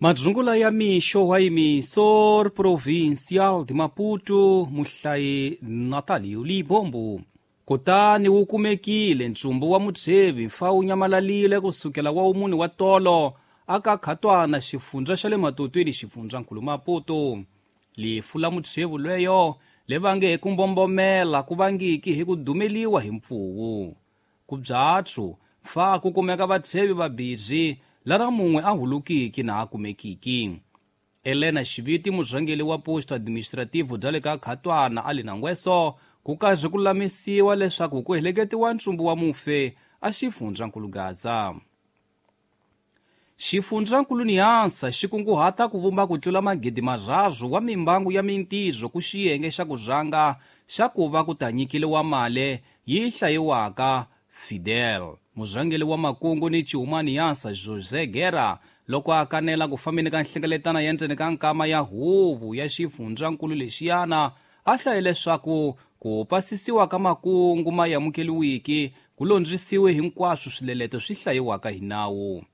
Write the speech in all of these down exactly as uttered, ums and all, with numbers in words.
Madzungula ya mixo wa emissor provincial de Maputo muhlayi Natalio Libombo. Kutani wu kumekile ntsumbu wa mutshevi mfa wu nyamalalile kusukela wa umuni wa tolo aka khatwana xifundza xa le matotweni xifundzankulu Maputo. Lifu la mutshevi lweyo le vange hi ku mbombomela ku vangiki hi ku dumeliwa hi mpfuwu. Ku byatsu mfa ku kumeka vatshevi vabirhi lara mun'we a hulukiki na a kumekiki. Elena Xiviti murhangeri wa posto administrativo bya le ka Khatwana a li na ngweso ku karhi ku lulamisiwa leswaku ku heleketiwa ntsumbu wa mufe a xifundzankulu Gaza. Xifundzankulu Niansa xi kunguhata ku vumba ku tlula magidi marharhu wa mimbangu ya mintirho ku xiyenge xa ku rhanga xa ku va ku ta nyikeliwa mali yi hlayiwaka Fidel. Murhangeri wa makungu ni Chihuma Niansa José Guerra loko a kanela ku fambeni ka nhlengeletano ya ndzeni ka nkama ya huvo ya xifundzankulu lexiyana a hlaye leswaku ku pasisiwa ka makungu ma amukeliwiki ku londzisiwe hinkwaswo swileleto swi hlayiwaka hi nawu.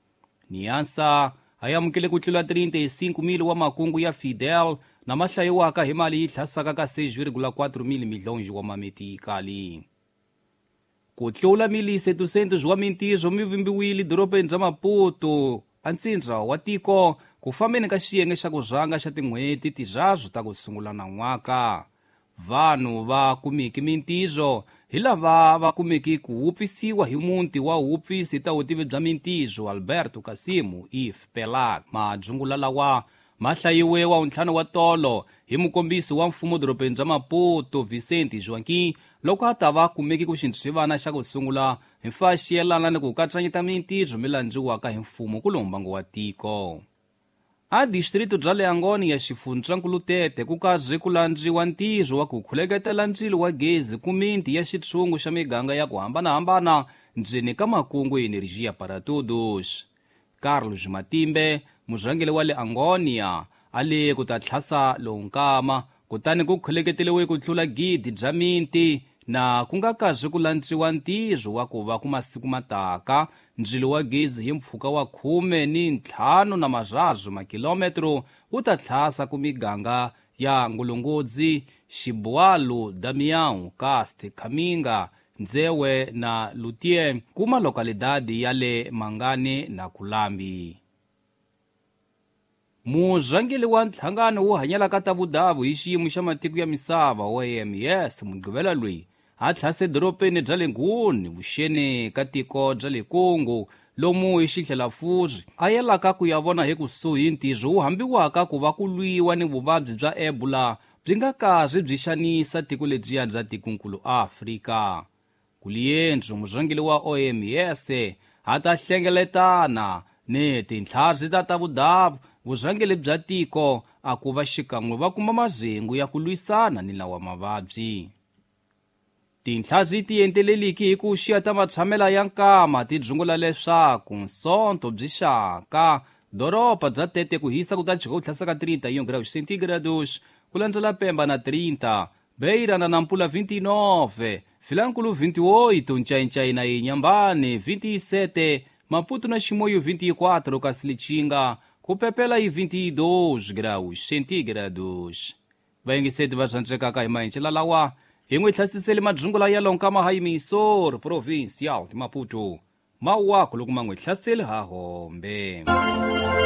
Niansa a amukele ku tlula trinta e cinco mil wa makungu ya Fidel na ma hlayiwaka hi mali yi tlhasaka ka seis vírgula quatro mil milhões wa mametikali. Ku tlula mil e setecentos wa mintirho mi vumbiwile dorobeni bya Maputo a ntsindza wa tiko ku fambeni ka xiyenge xa ku rhanga xa tin'hweti tirharhu ta ku sungula nan'waka. Vanhu va kumiki mintirho hi lava va kumeki ku wupfisiwa hi muti wa wupfisi ta vutivi bya mintirho Alberto Kasimu if Pelak. Madzungula lawa ma hlayiwe wa ntlhanu wa tolo hi mukombisi wa mfumo dorobeni bya Maputo Vicente Joaquim loko a ta va kumeki ku xintswivana xa ku sungula hi mfa xiyelana ni ku katsanyeta mintirho mi landziwaka hi mfumo ku lombango wa tiko. A distrito bya le Angoni ya xifundzankulu Tete ku karhi ku landziwa ntirho wa ku khuleketela ndzilo wa gezi ku miti ya xitshungu xa miganga ya ku hambanahambana ndzeni ka makungu Energia para Todos. Carlos Matimbe murhangeri wa le Angonia a le ku ta tlhasa lowu nkama kutani ku khuleketeliwe ku tlula gidi bya miti na ku nga karhi ku landziwa ntirho wa ku va ku masiku mataka ndzilo wa gezi hi mpfhuka wa khume ni ntlhanu na marharhu makilometro wu ta tlhasa ku miganga ya Ngulungudzi, Xibualu, Damião, Cast, Kaminga, Nzewe na Lutie kuma lokalidadi ya le Mangani na Kulambi. Murhangeri wa nhlangano wo hanyela ta vudavu hi xiyimo xa matiko ya misava O M S Mugqivela loyi a tlhase dorobeni bya le Nguni vuxeni ka tiko bya le Congo lomu hi xihlelafuri a yelaka ku ya vona hi kusuhi ntirho wu hambiwaka ku va ku lwiwa ni vuvabyi bya Ebola byi nga karhi byi xanisa tiko lebyiya bya tikonkulu Afrika. Kuliendzu murhangeri wa O M S a ta hlengeletana ni tintlhari ta ta vudavu vurhangeri bya tiko a ku va xikan'we va kuma mazengu ya ku lwisana ni lawa mavabyi. Tintlhari ti enteleliki hi ku xiya ta matshamela ya nkama ti dzungula leswaku nsonto byi xaka doroba bya Tete ku hisa ku ta jika ku tlhasaka trinta e um graus centígrados ku landzela Pemba na trinta, Beira na Nampula vinte e nove, Vilankulo vinte e oito, Nchainchai na Inhambane vinte e sete, Maputo na Chimoio vinte e quatro, Cacilichinga kupepela e vinte e dois graus centígrados. Vayengiseti va zvandzekaka hi maenxela lawa hi n'wi hlasisele madzungula ya lonkama ha emissor provincial de Maputo. Mawaku loko ma n'wi hlaseli ha hombe.